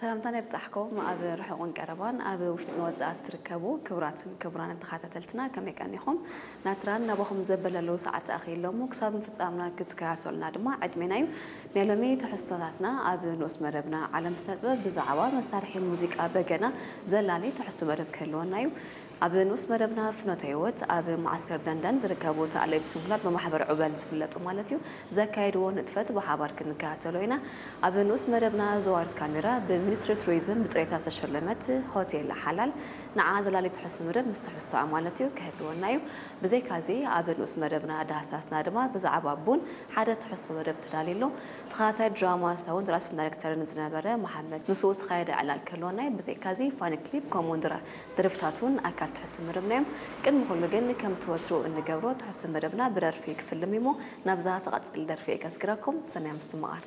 ሰላምታና ይብጻሕኩም። ኣብ ርሑቕን ቀረባን ኣብ ውሽጥን ወጻእን ትርከቡ ክቡራትን ክቡራንን ተኸታተልትና፣ ከመይ ቀኒኹም? ናትራን ናባኹም ዘበለሉ ሰዓት ኣኺለሞ። ክሳብ ምፍጻምና ክትከታተሉና ድማ ዕድሜና እዩ። ናይ ሎሚ ትሕዝቶታትና ኣብ ንኡስ መደብና ዓለም ስነ ጥበብ ብዛዕባ መሳርሒ ሙዚቃ በገና ዘላሊ ትሕዝቶ መደብ ክህልወና እዩ። ኣብ ንኡስ መደብና ፍኖተ ህይወት ኣብ መዓስከር ደንደን ዝርከቡ ተኣለይቲ ስንኩላን ብማሕበር ዑበል ዝፍለጡ ማለት እዩ ዘካየድዎ ንጥፈት ብሓባር ክንከታተሎ ኢና። ኣብ ንኡስ መደብና ዘዋርት ካሜራ ብሚኒስትሪ ቱሪዝም ብፅሬታ ዝተሸለመት ሆቴል ሓላል ንዓ ዘላሊ ትሕዝቶ መደብ ምስ ትሕዝቶኣ ማለት እዩ ክህልወና እዩ። ብዘይካዚ ኣብ ንኡስ መደብና ዳህሳስና ድማ ብዛዕባ ቡን ሓደ ትሕዝቶ መደብ ተዳልዩ ኣሎ። ተኸታታይ ድራማ ሰውን ደራስን ዳይሬክተርን ዝነበረ መሓመድ ምስኡ ዝተኻየደ ዕላል ክህልወና እዩ። ብዘይካዚ ፋኒ ክሊፕ ከምኡ እውን ድራ ደርፍታት እውን ኣካል ትሕዝቶ መደብና እዮም። ቅድሚ ኩሉ ግን ከምቲ ወትሩ እንገብሮ ትሕዝቶ መደብና ብደርፊ ክፍልም እዩሞ ናብዛ ትቐጽል ደርፊ እየ ከስግረኩም። ሰናይ ምስትምቓር።